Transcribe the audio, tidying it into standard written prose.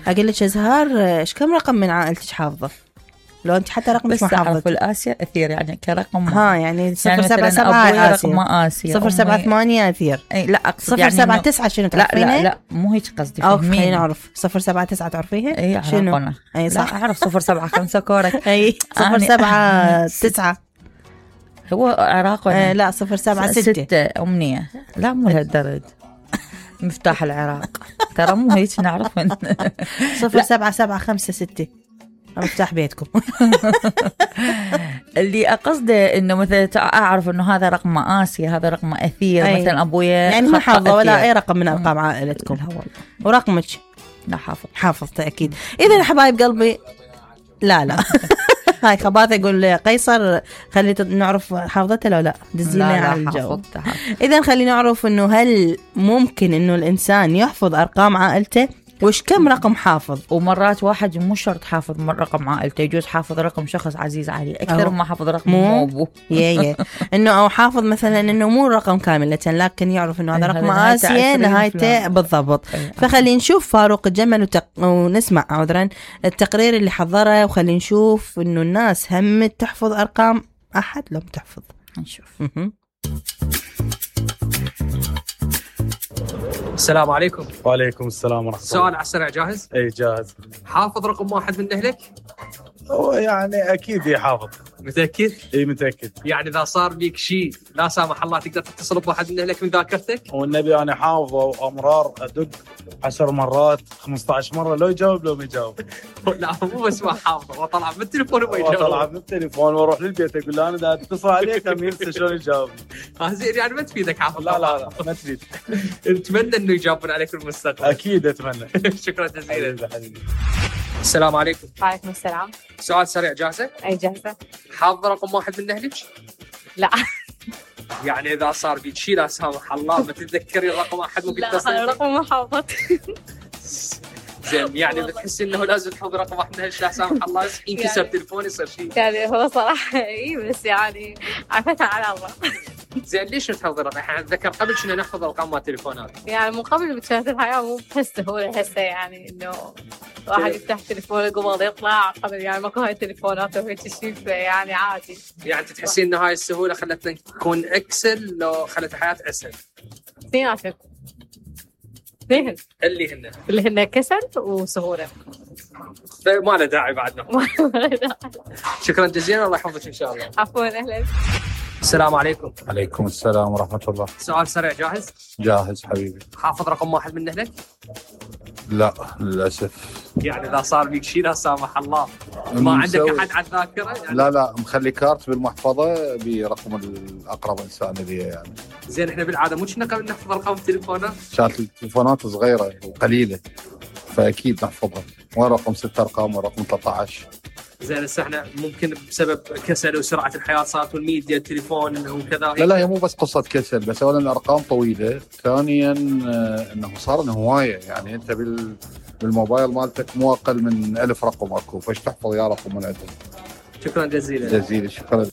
اقول لك ازهار ايش كم رقم من عائلتك حافظه؟ لو انت حتى رقم مش محافظه. بس الآسيا أثير يعني كرقم. يعني 077 آسيا 078 أثير. لا أقصد 079 شنو تعرفينها؟ لا مو هيك قصدي. خلينا نعرف 079 تعرفيها؟ اي شنو؟ اي صح. لا أعرف 075 كورك. اي 079 هو عراق ولا لا 076 أمنية. لا مو لهالدرجة. مفتاح العراق ترى مو هيك نعرف. 07756 مفتاح بيتكم. اللي أقصده إنه مثلا أعرف إنه هذا رقم آسيا هذا رقم أثير. مثلا أبويا يعني ما حافظة ولا أي رقم من أرقام عائلتكم. ورقمك لا حافظته أكيد. إذا حبايب قلبي لا هاي خباثة يقول قيصر خلي نعرف حافظته لو لا دزينا على الجو. إذا خلي نعرف إنه هل ممكن إنه الإنسان يحفظ أرقام عائلته وش كم رقم حافظ. ومرات واحد مو شرط حافظ رقم عائلته يجوز حافظ رقم شخص عزيز عليه أكثر ما حافظ رقم أبوه. إنه أو حافظ مثلا إنه مو رقم كاملة لكن يعرف إنه هذا رقم آسيا نهايته بالضبط. فخلي نشوف فاروق الجمل ونسمع عذرا التقرير اللي حضره وخلي نشوف إنه الناس همت تحفظ أرقام أحد لو تحفظ. نشوف. السلام عليكم. وعليكم السلام ورحمة الله. سؤال على السريع جاهز؟ اي جاهز. حافظ رقم واحد من أهلك؟ هو يعني أكيد يحافظ. متأكد؟ اي متأكد. يعني إذا صار بيك شيء لا سامح الله تقدر تتصل بواحد من أهلك من ذاكرتك؟ والنبي أنا حافظه وأمرار أدق 10 مرات 15 مرة لو يجاوب لو ما يجاوب. لا مو بس ما حافظه وطلع من التليفون وما يجاوب. طلع من التليفون واروح للبيت أقول له أنا دا اتصل عليك هم ينسى شلون يجاوب. زين يعني ما تفيدك حافظ. لا ما تفيد. نتمنى إنه يجاوبون عليك في المستقبل. أكيد أتمنى. شكرا جزيلا. السلام عليكم. وعليكم السلام. سؤال سريع جاهزة؟ أي جاهزة. حافظ رقم واحد من أهلك؟ لا. يعني إذا صار بيك شيء لا سامح الله ما تتذكري الرقم أحد ممكن تصل. لا رقم ما حافظت. زين يعني بتحسي إنه لازم تحفظ رقم واحد من أهلك لا سامح الله ينكسر تلفون يصير شيء. يعني هو صراحة بس يعني عفتها على الله. زين ليش تحفظ الرقم؟ احنا نتذكر قبل كنا نحفظ ارقام مال تليفونات. يعني من قبل بتشارك الحياة مو بحس سهولة هسه يعني إنه واحد يفتح تليفونه قبل يطلع قبل يعني ماكو هاي التليفونات وهيك شيء يعني عادي. يعني تحسين إنه هاي السهولة خلتنا نكون أكسل لو خلت الحياة أسهل؟ اثنيناتهم. اثنين. اللي هن كسل وسهولة. ما له داعي بعدنا. شكرا جزيلا الله يحفظك إن شاء الله. عفوا أهلا. السلام عليكم. عليكم السلام ورحمة الله. سؤال سريع جاهز؟ جاهز حبيبي. حافظ رقم واحد من أهلك؟ لا للأسف. يعني إذا صار بيك شيء لا سامح الله ما عندك أحد على الذاكرة؟ يعني لا مخلي كارت بالمحفظة برقم الأقرب إنسان لي يعني. زين إحنا بالعادة مو كنا قبل نحفظ أرقام التليفونات؟ كانت التليفونات صغيرة وقليلة فأكيد نحفظها. وين رقم 6 أرقام ورقم 13. زين هسه احنا ممكن بسبب كسل وسرعه الحياه صارت والميديا التليفون وكذا. لا هي مو بس قصه كسل بس اولا الارقام طويله. ثانيا انه صار انه هوايه يعني انت بالموبايل مالتك مو اقل من 1000 رقم اكو فايش تحفظ يا رقم من عندهم. شكرا جزيلا. شكرا.